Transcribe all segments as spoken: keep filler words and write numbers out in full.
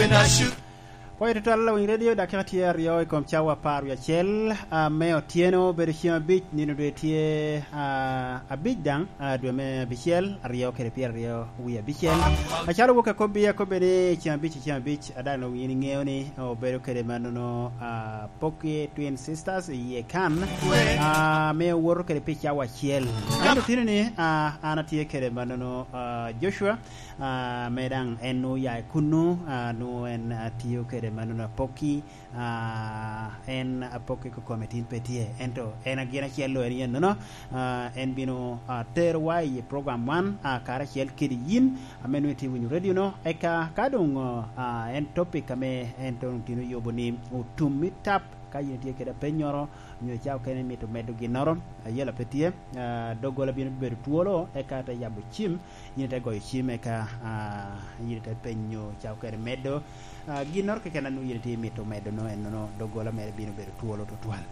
Pwoyo tutwal, Lawiny Radio, dakika tye aryo i kom cawa apar wie acel, ah, me otyeno, obedo ceng abic, nino dwe tye, ah, abic daŋ, ah, dwe me abicel, aryo kede pyeraryo wie abicel. Acalo wok akobbi, akobbe ni ceng abic, ceng abic, a daŋ onwoŋo yin iŋeo ni obedo kede mannono, ah, pokki Twin Sisters iye kan, ah, ame owoto kede pi cawa acel. Ento tino ni, ah, an atye kede mannono, ah, Joshua, ah, ame daŋ en nwoŋo oya i kunnu, ah, nwoŋo en, ah, tiyo kede mannono apokki, ah, en apokki kokome tin pe tye, ento en agin acel lo en yen nono, ah, en bino, ah, terowa i program wan, ah, karacel kede yin, ame nwoŋo itye winyo radio no, eka ka doŋ, ah, en topic ame en doŋ tino yubo ni otum i tap, ka yin itye kede apennyoro, nyo ca okene imito medo ginnoro, ayela pe tye, ah, doggola bino bedo twolo, eka te yabo cim, yin ite goyo cim, eka, ah, yin ite penyo ca okene medo, ah, ginnoro keken a nwoŋo yin itye imito medo no, en nono doggola mere bino bedo twolo tutwal.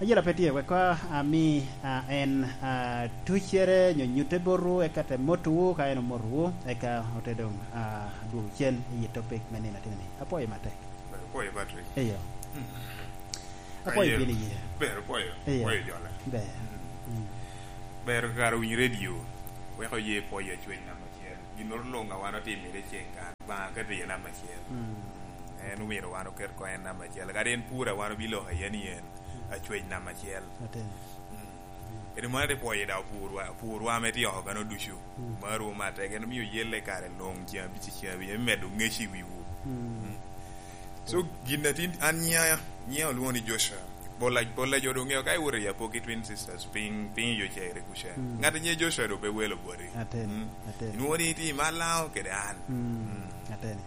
Ayela pe tye, wek, ah, ami, ah, en, ah, tuccere nyo nyutte botwu, eka te motowu, ka en omotowu, eka ote doŋ, ah, dwogo cen i topic me nino atinni. Apwoyo matek. Apwoyo, Patrick. Eyo. Mm. Apwoyo. Aye, bino iye. Ber, apwoyo. Eyo. Apwoyo jole. Ber. Mm. Mm. Ber kara winyo radio. Weko ye pwoyo acwec namba acel. Ginnoro luŋ a wan otimere ceng kan. Ba ka tiyo namba acel. Mm. Mm. En omyero wan oket ko en namba acel. Kadi en pur a wan obiloko aye ni en acwec namba acel. Atin. Mm. Kadi mano te pwoyo daŋ purwa, purwa ame tye oko kano ducu. Mm. Maro matek, en omio yelle kare luŋ, ceng abic, ceng abic, me medo ŋec i wiwu. Mm. Mm. So, gin a tin, an nyiŋa, nyiŋa olwoŋo ni Joshua. Pol a, pol a jo doŋ ŋeo ka iwoto i Apoki Twin Sisters, piny, piny yo cere kuca. Mm. Ŋat a nyiŋe Joshua doŋ pe welo boti. Aten, mm, aten. Inwoŋo ni itye i Malaŋo kede an. Mm, mm. Aten.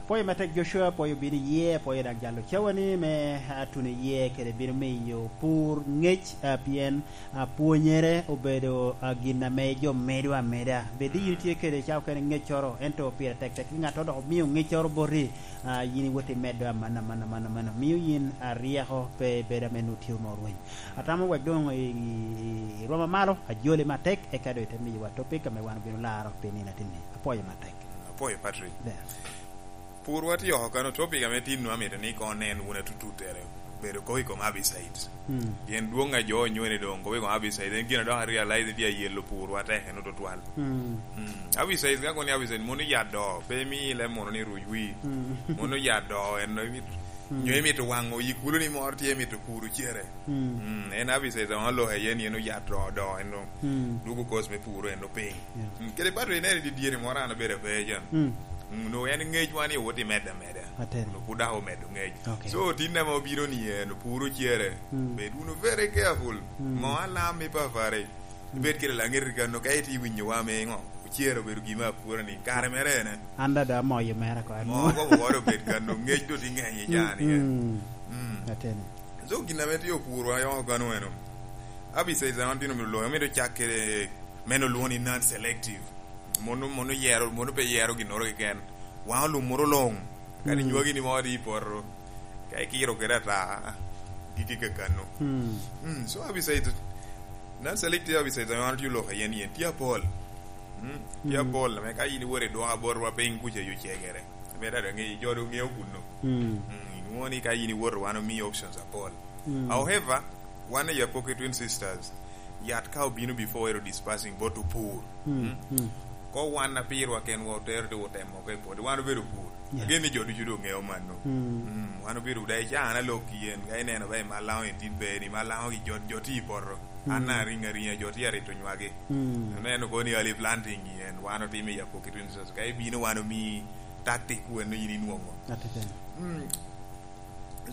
Pwoyo matek Joshua, pwoyo bino iye, pwoyo dak jalo cawani me, ah, tuno iye, kede bino miyo pur ŋec, ah, pien, ah, pwonyere obedo, ah, gin ame jo medo ameda. Bed ni yin itye kede ca okene ŋeccoro, ento pire tek tek ki ŋattoro dok omio ŋeccoro boti, ah, yin iwot imedo aman, aman, aman, aman. Mio yin, ah, ryeko pe bedo ame nwoŋo tye onwoŋo rweny. Atamo wek doŋ i, i, i rwoma malo, ajoli matek, eka doŋ ite miyowa topic ame wan obino laro pi nino atinni. Apwoyo matek. Apwoyo, Patrick. Ber. Purwa tye oko kano, topic ame tinnu amito ni koŋ onen wun atututtere, bedo kop i kom herbicides. Mm. Pien dwoŋ a jo onyone doŋ kop i kom herbicides, en gin a dok arealize ni tye ayelo purwa tek eno tutwal. Mm. Mm. Herbicides, ka kono ni herbicides, mono yat do, pe imi leb mono ni ruc wi. Mm. Mono yat do, en no imit-, mm, nyo imito waŋo yi kulo ni moro tye imito puro cere. Mm. Mm, en herbicide wan oloko aye ni en oyat do, do, en o-, mm, dwogo cost me puro en opiny. Yeah. Mm, kede pato ineno i dyere moro an abedo ape ca. Mm. Mm, onwoŋo en ŋecwa ni owot i medde ameda. Aten. Onwoŋo pud dok omedo ŋec. Okay. So, tin ame obino ni en opuro cere. Mm. Bed wunu very careful. Mm. Mo alam i papari. Mm. Ibed kede laŋet i kano, ka itye winyowa me ŋo? Ocero obedo gin me apura ni, kare mere ene. An dada amoyo mere ko, an. Mo kobo woro obed kano, ŋec do tye ŋeny i caa ni, eh. Mm. Mm. Ateni. So, gin ame tye opurwa yoko kano eno. Herbicides wan tino mito lwoŋo, mito cak kede meno lwoŋo ni non-selective. Mono, mono yero, mono pe yero ginnoro keken. Wan olumoro luŋ. Kadi, mm, nywagi ni mo di i poto. Ka ikiro kede ata, gigi kakano. Mm. Mm, so herbicide, non-selective herbicide ame wan otye oloko iye ni en tye apol. Mm, tye, mm, apol, ame ka in iwot i dwoka botwa piny kuca yo cegere. Ame dada ŋe-, jo doŋ ŋeo kunno. Mm. Mm, inwoŋo ni ka in iwoto wan omiyi options apol. Mm. However, wan i Apoki Twin Sisters, yat ka obino before ero dispersing bot opur. Mm, mm. Mm. Ko wan a pirwa kenwa otero te otemo oko i pwod, wan obedo opur. Yeah. Agen ni jo ducu doŋ ŋeo mano. Mm. Mm, wan obedo daŋ i caa an alok yen, ka ineno ba i Malaŋo i dit ber, i Malaŋo gi jo, jo tye i poto. Mm. An ariŋ ariŋa, jo tye arito nywagi. Mm. Ineno kono ni early planting yen, wan otimo i Apoki Twin Sisters. Ka ibino wan omiyi tactic weno yin inwoŋo. Atiteni. Mm.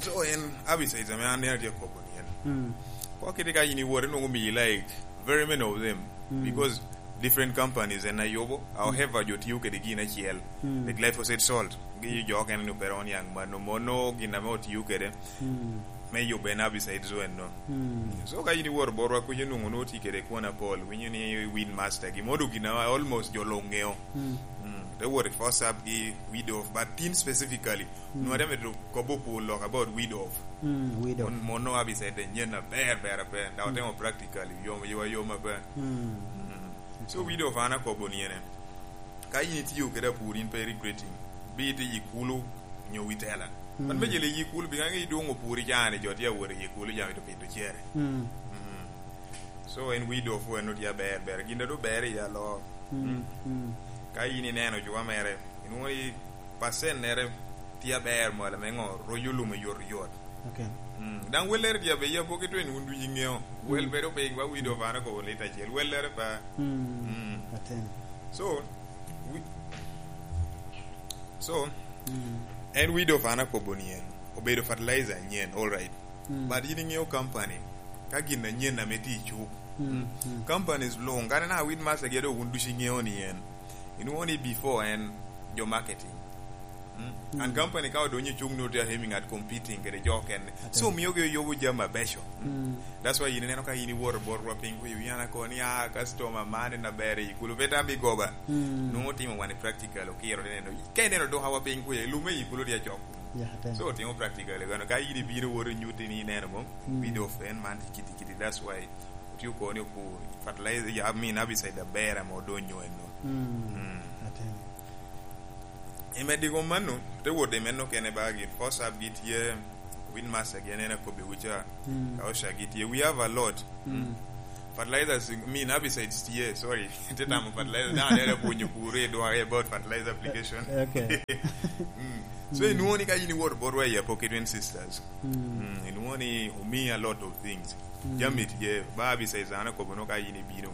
So, en herbicides ame an neno tye akobo ni en. Mm. Kwa kite ka in iwot, inwoŋo miyi, like, very many of them. Mm. Because different companies en ayubo. Mm. However, jo tiyo kede gin acel. Mm. The glyphosate salt. Gi jo okene ni opera on yang mano. Mono gin ame otiyo kede. Mm. Me yubo en herbicides weno. Mm. So, ka in iwot botwa kuca, inwoŋo nwoŋo tye kede kwon apol. Winyo ni Weed Master. Gi modo gin ame almost jo luŋ ŋeo. Mm. Mm. Te wot i Forceps gi Weed Off. But tin specifically, mm, nwa dame to kobo pur lok about Weed Off. Mm, Weed Off. Mon, mono herbicide nyen aber, ber, aber. Daŋ, mm, otemo practically, yom, yom, yom aber. Mm. Mm. So, okay. Weed Off an akobo ni ene. Ka in itiyo kede apur, in pe regretting. Bi iti i kulu, nyo wi tela. Mm. Man me jele i kulu, pi ŋaŋ idwoŋ opuri jani, jo tye awot i kulu, jami to pito cere. Mm. Mm. So, en widow fu en otye aber, ber. Gin a doŋ ber i alo. Mm, mm. Ka in ineno juwa mere, inwoŋo ni percent nere tye aber malo me ŋo, royo lume yot yot. Okay. Mm. Daŋ wellere tye aber, ya pok itwen wun ducu iŋeo. Wel bedo piny, wa widow fana kobo lit acel. Wellere pa. Mm. Mm. Aten. So, wi-, so, mm, en widow fana kobo ni en. Obedo fertilizer anyen, all right. Mm. But in iŋeo company, ka gin anyen ame tye i cuk. Mm, mm. Companies luŋ, kadi na wit master gi ado wun ducu iŋeo ni en. Inwoŋo ni before en jo marketing. Mm. Mm. And company ka odonyo i cuk ni otye aiming at competing kede jo okene. Ate. So, miogi oyubo jami abeco. Mm. That's why in ineno ka in iwoto botwa piny kuyo, in ana koni, "Ah, customer man en aber i kulu, beta abi goba." Mm. Nwoŋo timo wan i practical, okiro ni neno. Ka ineno dukawa piny kuyo, lume i kulu tye acok. Yeah, ate. So, otimo practical, gano ka in ibino woto inyutti ni ineno mom, mm, bid of en man tye kiti kiti. That's why otye okoni opur, fertilizer, I mean, herbicide aber ame odonyo eno. Mm. Mm. Ate. I meddi kom mano, te wot i meno kene ba gin, first up gi tye, Windmaster gi en en akobbiwu ca, mm, ka Osha gi tye. We have a lot. Mm. Fertilizers, I mean, herbicides tye, sorry. Te tamo fertilizer, na, ne pwonyo pur i dware about fertilizer application. Okay. Mm. So, mm, inwoŋo ni ka in iwoto botwa i Apoki Twin Sisters, mm, mm, inwoŋo ni omi a lot of things. Mm. Jami tye, ba herbicides an akobo no ka in ibino.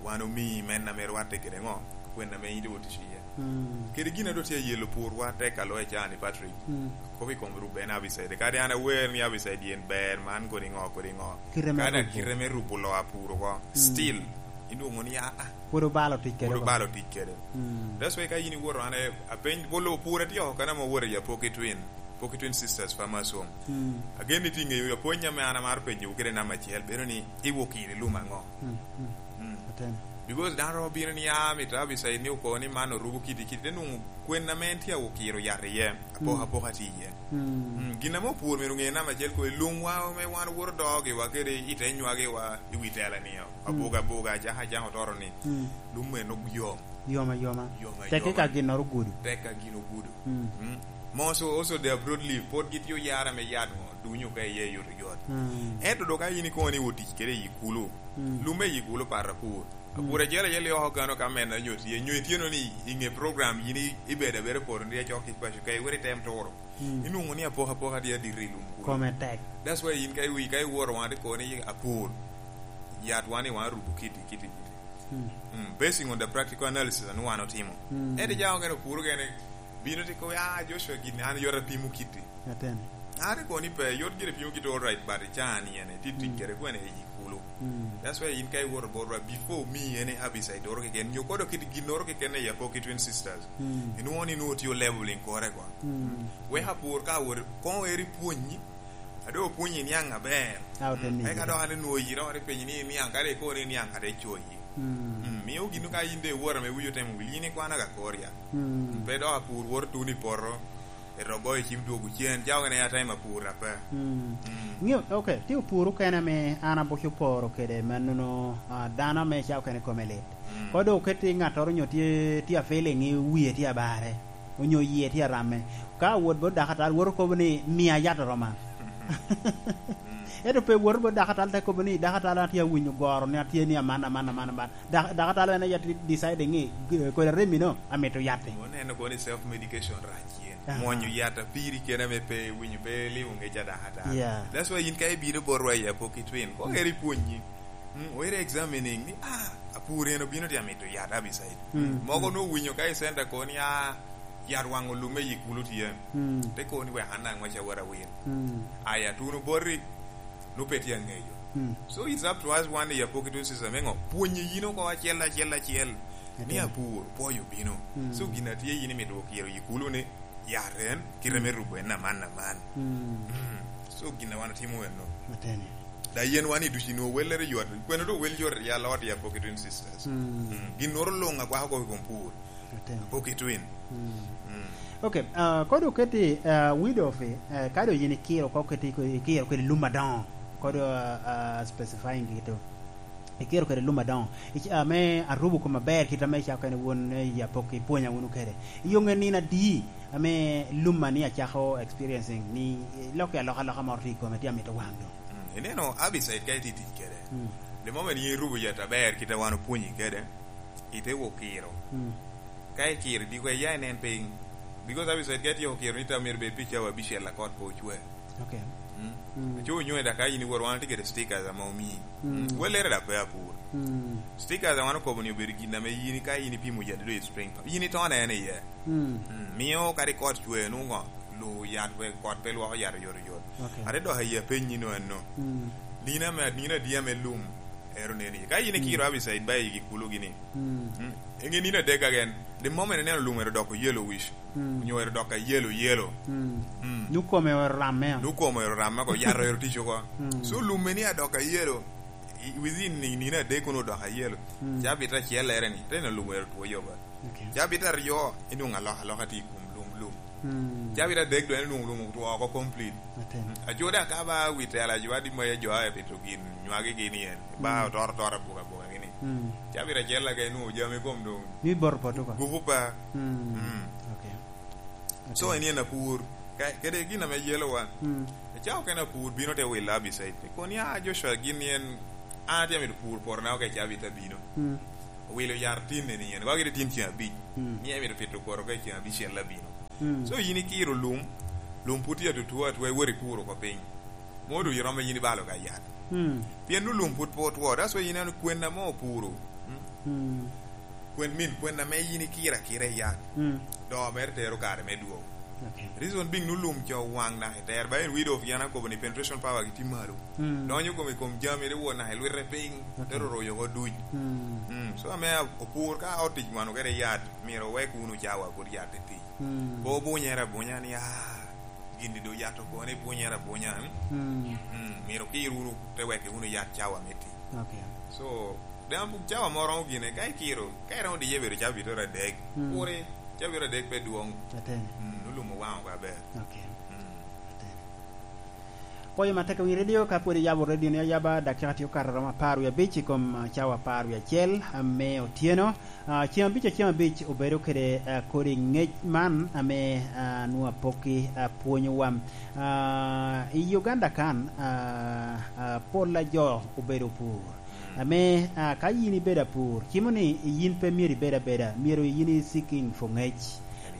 Wan omi men ame rwatte kede ŋo? Kwen ame in iwot i ciye. Mm. Kede gin a doŋ tye ayelo purwa tek a loyo can i Patrick. Mm. Kop i kom Ruben herbicide. Kadi an awer ni herbicide yen ber, man kodi ŋo, kodi ŋo. Kite me rubo. Kadi kite me rubo loo apuro oko. Mm. Still, inwoŋo ni, ah, ah. Pwod obalo tic kede. Pwod obalo tic kede. Mm. That's why ka in iwoto, an, eh, apeny, bolo pur atye oko, kadi ame owoto i Apoki Twin. Apoki Twin Sisters Farmers Home. Mm. Agen ni tye ŋeyo, apwony ame an amaro penyowu kede namba acel, bedo ni iwokiro i lum aŋo? Mm, mm. Mm. Atene. Because dano romo bino ni, "Ah, mito herbicide ni okobo ni man orubo kiti kiti," te nwoŋo kwen ame en tye awokiro yat iye, apoka, mm, apoka tye iye. Mm. Mm, gin ame opur myero oŋe namba acel ko, i lum wa ame wan owoto dogi wa kede i te nywagi wa i wi tela ni, mm, abuga abuga, acaka acaka otoro ni, mm, lum eno yom. Yom ayoma. Yom ayoma. Tek ka ginnoro ogudo. Tek ka gin ogudo. Mm. Mm. Most also the broad leaf, pwod gitye oyara me yat ŋo, dunyo ka iye yot yot. Mm. Ento dok ka in ikono ni otic kede i kulu, mm, lumme i kulu pat apur. Mm. Apur acel acel i oko kano ka mena nyo tye, nyo ityeno ni i ŋe program yin i-, ibedo abeda poto ni acok kic paco ka iwero item turo. Mm. Inwoŋo ni apoka apoka tye adito i lum kulu. Kome tek. That's why in ka iwi-, ka iworo wan ikono ni apur, yat wan i wan rubo kiti, kiti, kiti. Mm. Mm, basing on the practical analysis anu wan otimo. Mm. Ento ja ogene opuro gene, bino ti kobo, "Ah, Joshua, gin an yot apimo kiti." Aten. An ikobo ni pe, yot gire pimo kiti, all right, but can yen, ti tic, mm, kede kwene i kulu. Mm. That's why in ka iwoto botwa, before mi ene herbicide doro keken, nyo kodo kit ginnoro keken i Apoki Twin Sisters. Mm. Inwoŋo ni nwoŋo tye leveling kore kwa. Mm. Wek apur ka wot, koŋo eri pwonyi, a doŋ opwonyi niaŋ aber. A ote miyi. Eka dok an onwoŋo yiro, wan ipenyo ni niaŋ, kadi ikobo ni niaŋ, kadi icoyi. Mm. Mm, mio gin ka in de iworo ame wiyi otemo wil, in ikwano ka kor ya. Mm. Pe dok apur woto tuno i poto, eto goyo cim dwogo cen, ca okene atima apur ape. Mm. Mm. Ŋeo, okay, tye opur okene ame an abuco poro kede mannono, ah, dano ame ca okene kome lit. Mm. Kodo oketi ŋattoro onyo tye, tye a feeling i wie tye abare, onyo yie tye aramme. Ka awot bot dakatal, woto kobo ni, "Mia yat oroma." Mm. Ento pe woto bot dakatal te kobo ni, "Dakatal, an atye awinyo goro ni atye ni aman, aman, aman, aman." Dak-, dakatal en aye deciding ni, g-, kodi aremmi no, amito yat-ti. Oneno kono ni self medication rac yen. Aha. Mwonyo yat apiri kene ame pe iwinyo, pe ilimo ngec a dakatal. Yeah. That's why in ka ibino botwa i Apoki Twin, ko eri pwonyi. Mm, where examining ni, ah, apur en obino tye amito yat herbicide. Mm, mogo mm. Nowinyo ka i center ko ni, ah, yat waŋo lumme i kulu tye. Mm. Te ko ni wek an aŋwec awot awil. Mm. Aya, tuno boti, nu pe tye aŋeyo. Mm. So it's up to us wan i Apoki Twin Sisters me ŋo? Pwonyo yin oko acel, acel, acel. Ni apur, pwoyo bino. Mm. So gin a tye yin imito okiro i kulu ni, yat en, kite me rubo en aman, aman. Mm. Mm. So gin a wan otimo enno. Atene. Da yen wan i ducu inwoŋo wellere yot. Kwene do wel yot i alot i Apoki Twin Sisters. Mm. Mm. Ginnoro luŋ akwako koko i kom pur. Atene. Apoki Twin. Mm. Mm. Okay, ah, kodi oketi, ah, widow fi, eh, kadi yin ikiro, ko keti, ikiro kedi lum adoŋo. Kodi, ah, ah, specifying gitu. ikiro kede lum adoŋo, ic-, ame arubo kom aber, kit ame icako kene wun, eh, i Apok ipwonya wunu kede. Iyoŋe nino adi ame lum a ni acako experiencing, ni, eh, lok i alokaloka moro tye i kome, tye amito waŋ doŋ? Mm, ineno Abicide ka itye tic kede. Mm. The moment yin irubo yat aber, kit a wan opwonyi kede, ite wo kiro. Mm. Ka ikiro, diko iya inen piny. Because Abicide ka ityeko kiro ni tam myero bed pi cawa abicel a kot pe ocwe. Okay. Mm. Mm. Aco onyo da ka in iwor wan tye kede stickers ame omii. Mm. Mm. Welere da pe apur. Mm. Stickers a wan okobo ni obedo gin ame yin ka in ipimo yadde do i spring. Yin itone en iye. Mm. Mm. Mio kadi kot cwe, nwoŋo lu yat pe, kot pe lwoko yat oyotoyot. Okay. Ate dok aye apenyi no anno. Mm. Nino ame, nino adi ame lum ero neni? Ka in ikiro, mm, Abicide ba igi kulo gini. Mm. Mm. Enge nino adek agen. The moment ineno lum ero doko yellowish. Mm. Onyo ero dok a yellow, yellow. Mm. Mm. Nukome ero ramme. Nukome ero ramme ko, yat ero tic oko. Mm. So lum eni adok a yellow, i, within ni, nino adek kono odok a yellow. Mm. Cabit acel ere ni, te neno lum ero two yoba. Okay. Cabit aryo, inwoŋo alokaloka tye i kom lum, lum. Mm. Cabit adek doŋ inwoŋo lum otwo oko complete. Aten. Mm. Aco daŋ ka ba wi tela jo adi ma jo a pito gin nywagi gini en, ba, mm, otoro toro abuka abuka gini. Mm. Cabit acel ake inwoŋo jami kom doŋ. Mi boro poto ko. Gupu pa. Mm. Mm. Okay. So, okay, en yen apur. Ka, kede gin ame yelowa. Mm. Ecako kene apur bino te wilo Abicide. Kono ya Joshua gin yen, an atye amito pur poto na oke cabit abino. Mm. Owilo yar tin eni yen. Wagi tin ceng abic. Mm. Ni amito pito kwoto ka ceng abicel abino. Mm. So yin ikiro lum, lum pwod tye atutwu atwa, iwot ipuro oko piny. Modo iromo yin ibalo ka yat. Mm. Pien nu lum pwod pe otwo, that's why yin ineno kwen ame opuro. Mm. Mm. Kwen min, kwen ame yin ikiro akira i yat. Mm. Doo mere tero kare me dwong. Okay. Reason being nu lum co waŋ naka i ter, ba en wido of yan akobo ni penetration power gi tye malo. Mm. Donyo kom i kom jami, te wot naka i lwite piny, okay, te roro oko duc. Mm. Mm. So ame opur ka otic wano kede yat, myero owek wunu cawa pwod yat tye tic. Mm. Pe obunyere abunya ni, ah, gin-ni doŋ yat okone, ibunyere abunya, mm? Mm. Mm, myero okir wunu, te wek wunu yat cawa me tic. Okay. So, daŋ cawa mo romo gine, ka ikiro, ka iromo diye bedo cabit adek, mm, kuri, cabit adek pe dwoŋ. Aten. Mm, nulum owaŋo oko aber. Okay. Mm. Aten. Pwoyo matek i wi redio, ka pwod iyabo redio ni ayaba, dakika tye okato romo apar wie abic i kom, ah, cawa apar wie acel, ah, me otyeno. Ah, ceng abic, ceng abic obedo kede, ah, kodi ŋec man ame, ah, nwoŋo apokki, ah, pwonyowa. Ah, i Uganda kan, ah, ah, pol a jo obedo pur. Ame, ah, ka yin ibedo apur, cimo ni yin pe myero ibed abeda, myero yin i seeking for ŋec.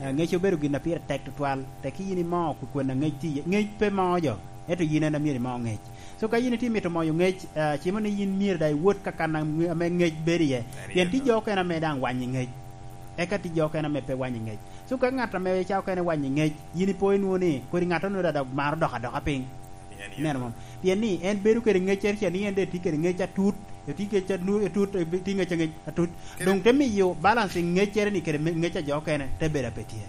Ah, ŋec obedo gin a pire tek tutwal, tekki yin imo kwe-, kwen a ŋec tye iye. Ŋec pe moo jo, ento yin en a myero imo ŋec. So ka yin itye mito moyo ŋec, ah, cimo ni yin myero daŋ iwot ka kan a ŋe-, ame ŋec bedo iye. Pien tye jo okene ame daŋ wanyo ŋec. Eka tye jo okene ame pe wanyo ŋec. So ka ŋat ame ca okene wanyo ŋec, yin ipo inwoŋo ni kodi ŋat onwoŋo daŋ maro dok adoka piny. Ineno mom? Pien ni en bedo kede ŋeccere ca ni en daŋ tye kede ŋec atut, etye ŋec anu-, atut, etye ŋec aŋec atut. Doŋ te miyo balance i ŋeccere ni kede me-, ŋec a jo okene te bedo a pe tye.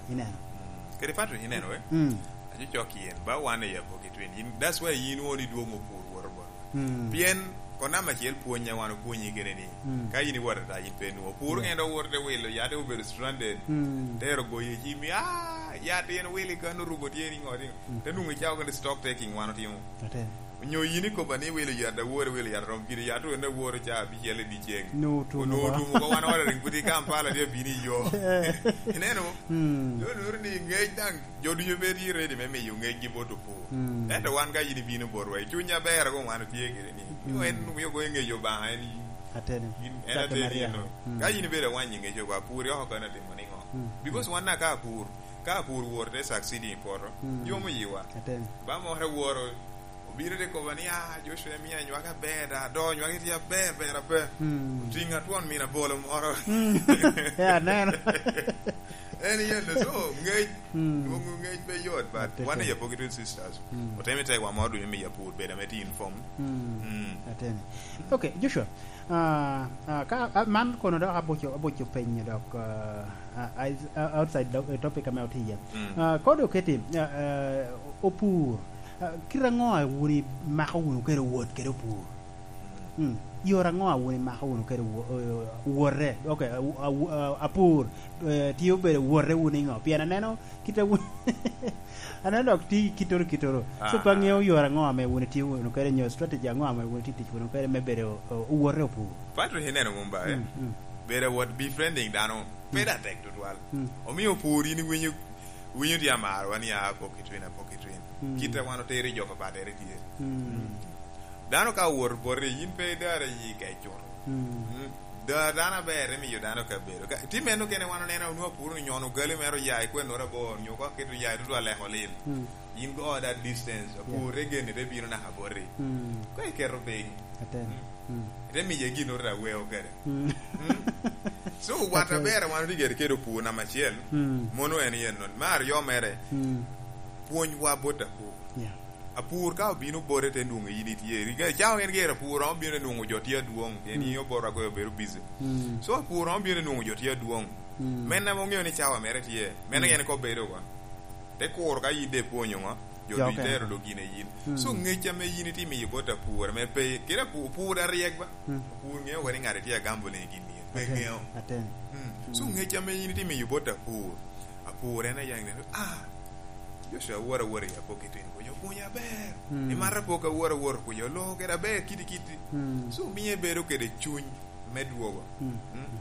Ineno? Mm. Kede Patrick, ineno, eh? Mm. Aco cok yen, ba wan i Apoki Twin. Yin, that's why yin woni dwoŋ opur woro bot. Mm. Pien, kono namba acel pwony a wan opwonyi kene ni, mm, ka in iwot ata, in pe nwoŋo. Pur, yeah, ŋen dok wot te wilo, yat te obedo stranded. Mm. Tero goyo i cimi, ah, yat en wilo i kan orubo tye ni ŋo, ni ŋo. Mm. Te nwoŋo icako kede stock taking wan otimo. Aten. Onyo yin ikoba ni wilo yat awor, wilo yat rom gire, yat wene awor ca abicel i dyeceŋ. Nwoŋo otum oko. Onwoŋo otum oko, wan ordering pwod i Kampala, tye abino i yo. Eh. Ineno? Mm. Yo nwoŋo ni ŋec daŋ, jo ducu pe tye ready me miyo ŋecgi bot opur. Mm. Ento wan ka yin ibino botwa, i cuny aber ago wan otye kede ni. Mm. En omio ko ŋec Obaŋa, en, ateni, en ateni eno. Mm. Ka yin ibedo awanyi ŋec oko, apur oko kano atimo niŋo? Mm. Because wan na ka apur, ka apur wor te succeeding i poto, mm, yomo yiwa. Ateni. Ba moro woro, obino te koba ni, "Ah, Joshua, imio anywaka aber da, do nywaki tye aber, ber aber." Mm. Otiŋa twon min abolo moro. Mm. Eh, aneno. En yen, so, ŋec, mm, dwoŋo ŋec pe yot, but wan i Apoki Twin Sisters, mm, otemo i tegwa moro ducu miyo apur bedo ame tye informed. Mm. Mm. Ateni. Okay, Joshua, ah, ah, ka, ah, man kono dok abuco, abuco penyo dok, ah, ah, ah, outside the, eh, topic ame otye iye. Mm. Ah, kodi oketi, ah, ah, opur, ah, kit aŋo a wun imako wunu kede wot kede opur? Mm. Yore aŋo a wun imako wunu kede wo-, eh, wote? Ok, a-, a-, a-, apur, eh, tye obedo wote wunu iŋo? Pien aneno kit a wun, Aneno dok ti kittoro kittoro. So, pe aŋeo yore aŋo ame wun itye wunu kede, nyo strategy aŋo ame wun itye tic wunu kede me bedo, o-, owote opur? Patrick, ineno mom ba, eh? Mm, mm. Bedo awot befriending dano, pe da tek tutwal. Mm. Omio opur in iwinyo, winyo tye amaro, wan ya apok i twin, apok i twin. Mm. Kit a wan otero i jo papatere tye. Mm. Dano ka owoto boti, in pe idare yi kec cuto. Mm. Mm. Da-, dano aber, emiyo dano kabedo. Ka, ti meno kene wan oneno, onwoŋo apuro ni nyono gali mere oya i kwennoro abor, nyo ka keto ya i tutu aleko lil. Mm. In go that distance, apure geni te bino naka boti. Mm. Ko iketo piny. Aten. Mm. Mm. Ite miye gin ori aweo kede. Mm. Mm. So, wat aber wan otigere kede opur namba acel, mm, mono en yen non. Me aryo mere, mm, pwony wa bot apur. Yeah. Apur ka obino bote te nwoŋo in itye. Riga cawa en gero apur, obino nwoŋo jo tye adwoŋ. En, mm, in oboro agoyo obedo busy. Mm. So, apur obino nwoŋo jo tye adwoŋ. Mm. Men ame oŋeo ni cawa mere tye. Men, mm, en kobedo wa. Te kuro ka yin de ipwonyo ŋo? Jo ducu itero dok gin a yin. Mm. So, ŋec ame yin itimo i bot apur, ame pe, kede apu-, pur aryek ba? Mm. Apur ŋeo wene ŋat itye agambone i gin yen. Pe ŋeo. Aten. Mm. So, mm, ŋec ame yin itimo i bot apur, apur en aye ŋeo, ah, Joshua awor awor i apok i tin kunyo, kunyo aber. Mm. Imato apok awor awor kunyo, loo kede aber kiti kiti. Mm. So, miye bedo kede cuny me dwogo. Mm. Mm.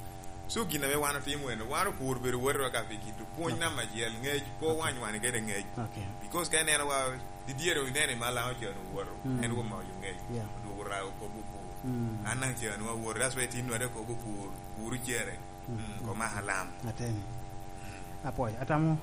So, gin ame wan otimo eno, wan opur bedo wotwa ka pi kito pwony namba acel, ŋec pe owany wan kede ŋec. Okay. Because ka ineno wa, didyere ineno i Malaŋo cen owoto, mm, en omako ŋec, yeah, odwogo rago kop opur. Mm. An daŋ cen awoto, that's why tin wade kop opur, pur ocere. Mm. Mm, kom aka lam. Aten. Apwoyo. Atamo